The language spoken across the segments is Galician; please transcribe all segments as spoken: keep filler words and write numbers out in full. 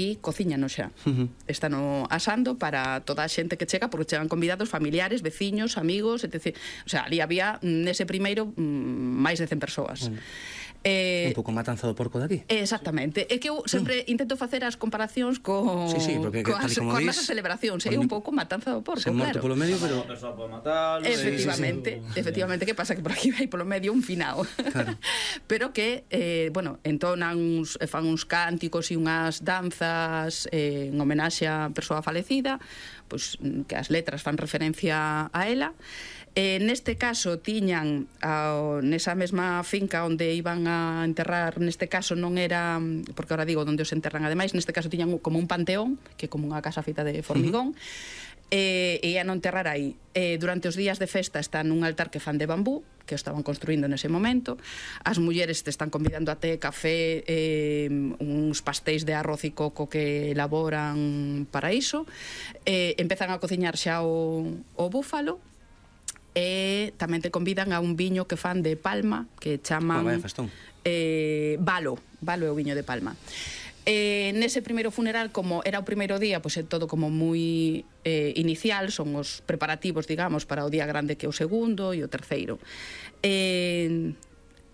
e cociñano xa. Uh -huh. Están asando para toda a xente que chega, porque chegan convidados familiares, veciños, amigos, etcétera. O sea, ali había, nese primeiro, máis de cen persoas. Bueno. Eh, un pouco matanza do porco daqui. Exactamente. É que eu sempre mm. intento facer as comparacións co, sí, sí, porque, coas, como coas dis, nosas celebracións. É un pouco matanza do porco, se claro. morto polo medio, pero... Matarlo, efectivamente, sí, sí, sí. efectivamente, que pasa que por aquí vai polo medio un finao. Claro. Pero que, eh, bueno, entonan uns, fan uns cánticos e unhas danzas eh, en homenaxe á persoa falecida, pois que as letras fan referencia a ela. Eh, neste caso tiñan ao, nesa mesma finca onde iban a enterrar, neste caso non era, porque ahora digo onde os enterran ademais, neste caso tiñan como un panteón, que é como unha casa feita de formigón. Uh-huh. E ia non enterrar aí. Eh, durante os días de festa está nun altar que fan de bambú, que o estaban construindo nese momento. As mulleres te están convidando a té, café, eh, uns pastéis de arroz e coco que elaboran para iso. Eh, empezan a cociñar xa o, o búfalo, e tamén te convidan a un viño que fan de Palma, que chaman oh, vaya festón. eh, Valo, Valo é o viño de Palma. Eh, nese primeiro funeral, como era o primeiro día, pois é todo como moi eh, inicial, son os preparativos, digamos, para o día grande que é o segundo e o terceiro. Eh,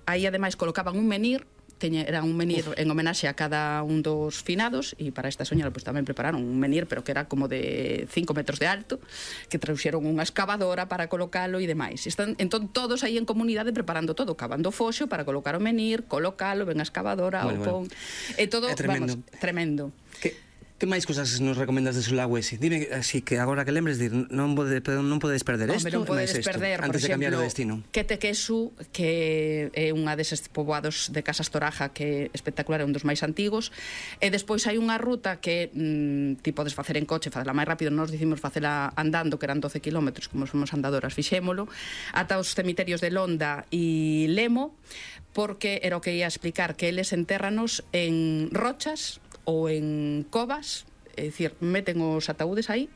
aí ademais colocaban un menir, teña, era un menir Uf. en homenaxe a cada un dos finados, e para esta soña pues, tamén prepararon un menir, pero que era como de cinco metros de alto, que trouxeron unha excavadora para colocalo e demais. Están, entón todos aí en comunidade preparando todo, cavando foxo para colocar o menir, colocalo, ven a excavadora, bueno, o pon... Bueno. E todo, é tremendo. Vamos, tremendo. Que... Que máis cosas nos recomendas de Sulawesi? Dime, así que agora que lembres, dir, non, pode, non podedes perder isto, non podedes perder, antes por de cambiar exemplo, o destino. Quetequesu, que é unha deses poboados de Casas Toraja que é espectacular, é un dos máis antigos, e despois hai unha ruta que mm, ti podes facer en coche, facela máis rápido, nós dicimos facela andando, que eran doce kilómetros, como somos andadoras, fixémolo, ata os cemiterios de Londa e Lemo, porque era o que ia explicar, que eles entérranos en rochas ou en covas, é dicir, meten os ataúdes aí,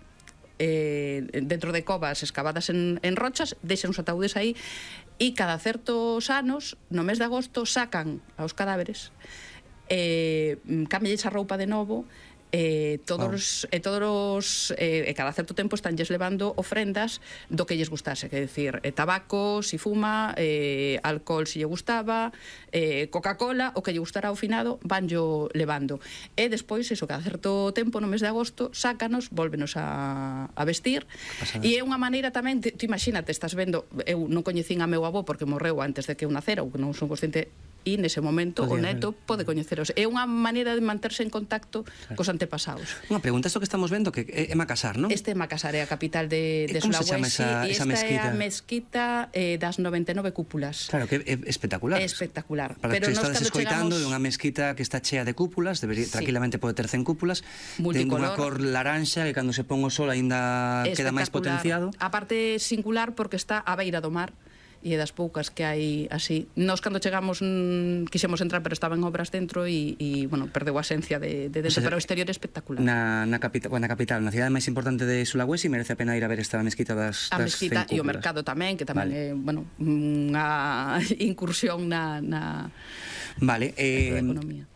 eh, dentro de covas escavadas en, en rochas, deixan os ataúdes aí, e cada certos anos, no mes de agosto, sacan aos cadáveres, eh, cambialles a roupa de novo, e todos os, e todos os e, e cada certo tempo estánlles levando ofrendas do que lles gustase, que é dicir, e tabaco, si fuma, e, alcohol si lle gustaba, e, Coca-Cola, o que lle gustara ao finado vanllo levando, e despois iso, cada certo tempo no mes de agosto sácanos, volvenos a, a vestir. E é unha maneira tamén, ti imagínate, estás vendo, eu non coñecín a meu avó porque morreu antes de que eu nacera, ou que non son consciente, e nese momento o neto pode coñeceros. É unha maneira de manterse en contacto cos antepasados. Unha pregunta, isto que estamos vendo que é Macassar, non? Este é Macassar, é a capital de, de Sulawesi. Como se chama esa, e esa esta mezquita? é a mezquita eh, das noventa e nove cúpulas. Claro, que é espectacular. É espectacular. Para pero que estades escoitando, é chegamos... unha mezquita que está chea de cúpulas, debería, sí. tranquilamente pode ter cen cúpulas, ten unha cor laranxa que cando se pon o sol aínda queda máis potenciado. A parte singular porque está á beira do mar, e é das poucas que hai así. Nós cando chegamos mmm, quixemos entrar, pero estaban obras dentro e, e bueno, perdeu a esencia de, de dentro, o sea, pero o exterior é espectacular. Na, na, capital, bueno, na capital, na cidade máis importante de Sulawesi, merece a pena ir a ver esta mezquita das, a das mezquita e o mercado tamén, que tamén vale. é, bueno, unha incursión na, na Vale, eh,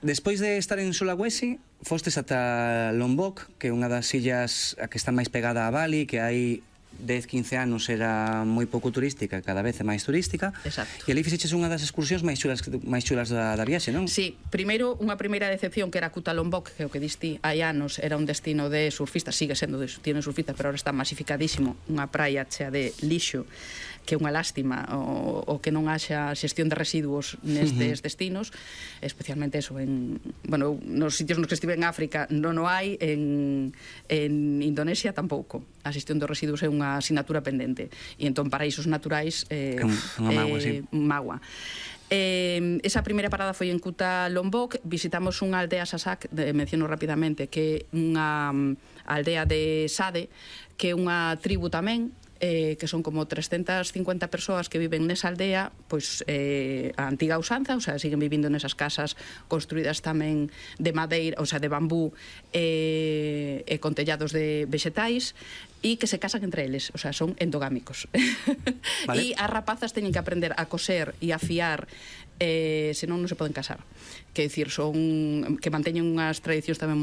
despois de estar en Sulawesi, fostes ata Lombok, que é unha das illas a que está máis pegada a Bali, que hai dez, quince anos era moi pouco turística, cada vez é máis turística. Exacto. E ali fixeches unha das excursións máis chulas, máis chulas da, da viaxe, non? Sí, primeiro unha primeira decepción que era Kuta Lombok, que o que diste hai anos era un destino de surfistas, sigue sendo de, tiene surfistas, pero ahora está masificadísimo, unha praia chea de lixo, que é unha lástima o, o que non haxa xestión de residuos nestes uh-huh. destinos, especialmente eso en, bueno, nos sitios nos que estive en África non o hai, en, en Indonesia tampouco. A xestión dos residuos é unha asignatura pendente, e entón paraísos naturais eh, é unha mágoa, eh, sí. mágoa. Eh, esa primeira parada foi en Kuta Lombok, visitamos unha aldea Sasak, de, menciono rapidamente, que é unha aldea de Sade, que é unha tribu tamén, eh, que son como trescentas cincuenta persoas que viven nesa aldea, pois eh, a antiga usanza, o sea, siguen vivindo nesas casas construídas tamén de madeira, o sea, de bambú, eh, e con tellados de vexetais, e que se casan entre eles, o sea, son endogámicos. Vale. E as rapazas teñen que aprender a coser e a fiar, eh, senón non se poden casar. Que dicir, son que manteñen unhas tradicións tamén moi